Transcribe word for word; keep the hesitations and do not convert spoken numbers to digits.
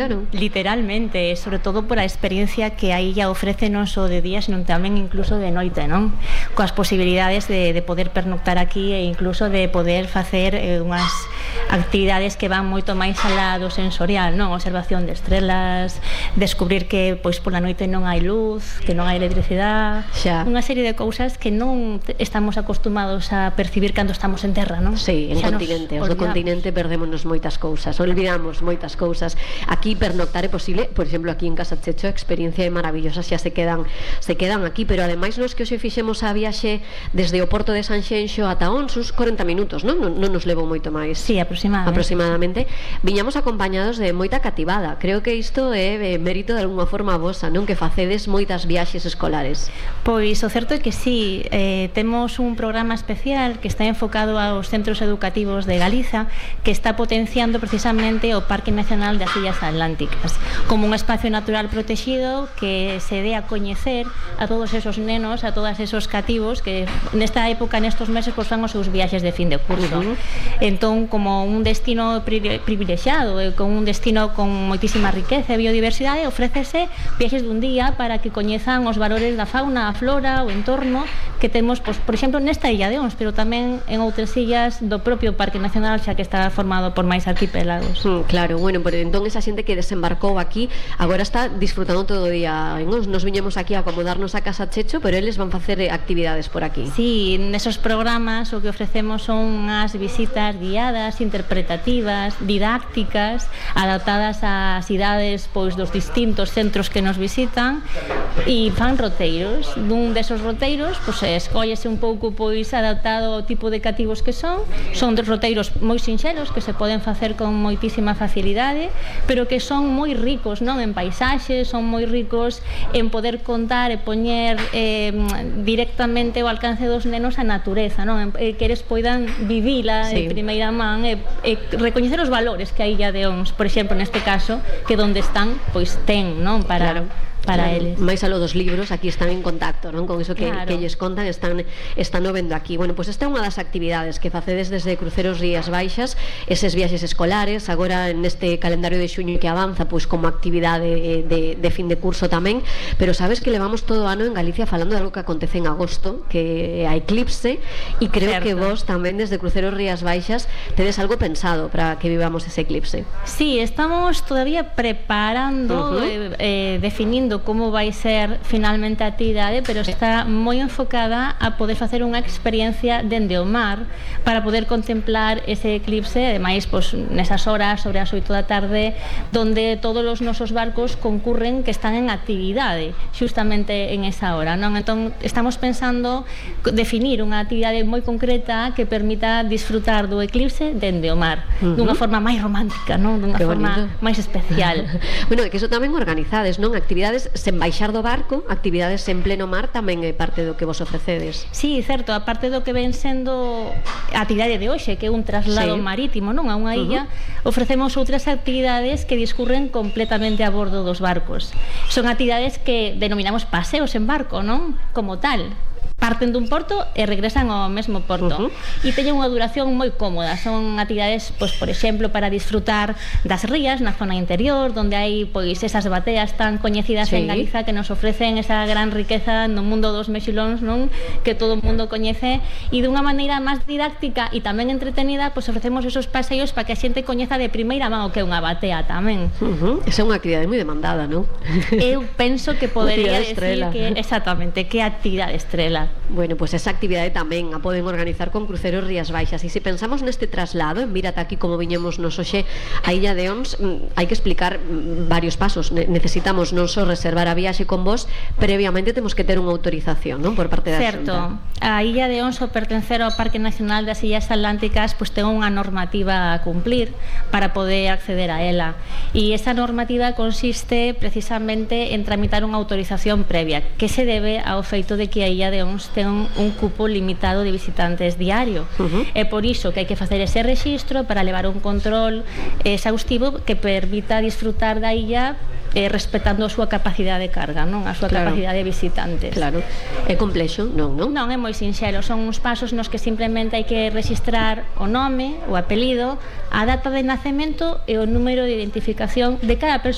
non? Literalmente, sobre todo por a experiencia que a illa ofrece non só de día, senón tamén incluso de noite, non? Coas posibilidades de, de poder pernoctar aquí e incluso de poder facer eh, unhas actividades que van moito máis alá do sensorial, non? Observación de estrelas, descubrir que pois pola noite non hai luz, que non hai electricidade, xa. Unha serie de cousas que non estamos acostumados a percibir cando estamos en terra, non? Sí, en xa continente, os do continente perdémonos moitas cousas, olvidamos moitas cousas. Aquí pernoctar é posible, por exemplo, aquí en Casa Checho a experiencia é maravillosa, xa se quedan se quedan aquí, pero ademais nos que hoxe fixemos a viaxe desde o porto de Sanxenxo ata Onsus, corenta minutos, non? Non, non nos levou moito máis. Sí, aproximadamente. Aproximadamente. Viñamos acompañados de moita cativada. Creo que isto é eh, mérito de alguna forma vosa, non? Que facedes moitas viaxes escolares. Pois o certo é que sí, eh, temos un programa especial que está enfocado aos centros educativos de Galiza, que está potenciando precisamente o Parque Nacional das Illas Atlánticas como un espacio natural protegido que se dé a coñecer a todos esos nenos, a todos esos cativos que nesta época, nestos meses, pois fan os seus viaxes de fin de curso. Uh-huh. Entón, como un destino privilexiado, eh, con un destino con moitísima riqueza e biodiversidade, ofrécese viaxes dun día para que coñezan os valores da fauna, a flora, o entorno que temos, pois, por exemplo, nesta illa de Ons, pero tamén en outras illas do propio Parque Nacional, xa que está formado por máis arquipélagos. Mm, claro, bueno, pero entón esa xente que desembarcou aquí agora está disfrutando todo o día en Ons. Nos viñemos aquí a acomodarnos a Casa Checho, pero eles van facer actividades por aquí. Sí, nesos programas o que ofrecemos son unhas visitas guiadas, interpretativas, didácticas, adaptadas ás idades pois dos distintos centros que nos visitan, e fan roteiros. Dun desos roteiros, pois escóllese un pouco pois adaptado ao tipo de cativos que son. Son dos roteiros moi sinxelos que se poden facer con moitísima facilidade, pero que son moi ricos, non, en paisaxes, son moi ricos en poder contar e poñer eh, directamente ao alcance dos nenos a natureza, non? Eh, que eles poidan vivila sí. en primeira man e, e recoñecer os valores que a illa de Ons, por exemplo, neste caso, que donde están, pois ten, non? Para... Claro. para claro. eles. Mais aló dos libros, aquí están en contacto, non? Con iso que, claro. que lles contan, están están o vendo aquí. Bueno, pois pues esta é unha das actividades que facedes desde Cruceros Rías Baixas, eses viaxes escolares, agora neste calendario de xuño que avanza, pois pues, como actividade de, de fin de curso tamén, pero sabes que levamos todo o ano en Galicia falando de algo que acontece en agosto, que é a eclipse, e creo certo. Que vos tamén desde Cruceros Rías Baixas tedes algo pensado para que vivamos ese eclipse. Sí, estamos todavía preparando, uh-huh. eh, eh, definindo como vai ser finalmente a actividade, pero está moi enfocada a poder facer unha experiencia dende o mar para poder contemplar ese eclipse, ademais, pois, nesas horas, sobre as oito da tarde, donde todos os nosos barcos concurren que están en actividade, xustamente en esa hora, non? Entón, estamos pensando definir unha actividade moi concreta que permita disfrutar do eclipse dende o mar, uh-huh. dunha forma máis romántica, non? Dunha forma máis especial. Bueno, que eso tamén organizades, non? Actividades sen baixar do barco, actividades en pleno mar tamén é parte do que vos ofrecedes. Sí, certo, a parte do que ven sendo a actividade de hoxe, que é un traslado sí. marítimo, non? A unha illa, uh-huh. ofrecemos outras actividades que discurren completamente a bordo dos barcos. Son actividades que denominamos paseos en barco, non? Como tal. Parten dun porto e regresan ao mesmo porto. Uh-huh. E teñen unha duración moi cómoda. Son actividades, pois, por exemplo, para disfrutar das rías na zona interior, donde hai pois esas bateas tan coñecidas sí. en Galiza que nos ofrecen esa gran riqueza no mundo dos mexilóns, non? Que todo o mundo coñece, e dunha maneira máis didáctica e tamén entretenida, pois ofrecemos esos paseos para que a xente coñeza de primeira mão o que é unha batea tamén. Uh-huh. Esa é unha actividade moi demandada, non? Eu penso que podería decir que exactamente, que actividade estrela. Bueno, pois pues esa actividade tamén a poden organizar con Cruceros Rías Baixas. E se pensamos neste traslado, en Mírate aquí como viñemos nos hoxe a illa de Ons, hai que explicar varios pasos. Necesitamos non só reservar a viaxe con vos, previamente temos que ter unha autorización, non? Por parte da Certo. Xunta. A illa de Ons, ao pertencer ao Parque Nacional das Illas Atlánticas, pois ten unha normativa a cumplir para poder acceder a ela. E esa normativa consiste precisamente en tramitar unha autorización previa, que se debe ao feito de que a illa de Ons ten un cupo limitado de visitantes diario. Uh-huh. É por iso que hai que facer ese rexistro para levar un control exhaustivo que permita disfrutar da illa eh, respetando a súa capacidade de carga, non? A súa claro. capacidade de visitantes. Claro. É complexo? Non, non? Non, é moi sinxelo. Son uns pasos nos que simplemente hai que registrar o nome, o apelido, a data de nacemento e o número de identificación de cada persoa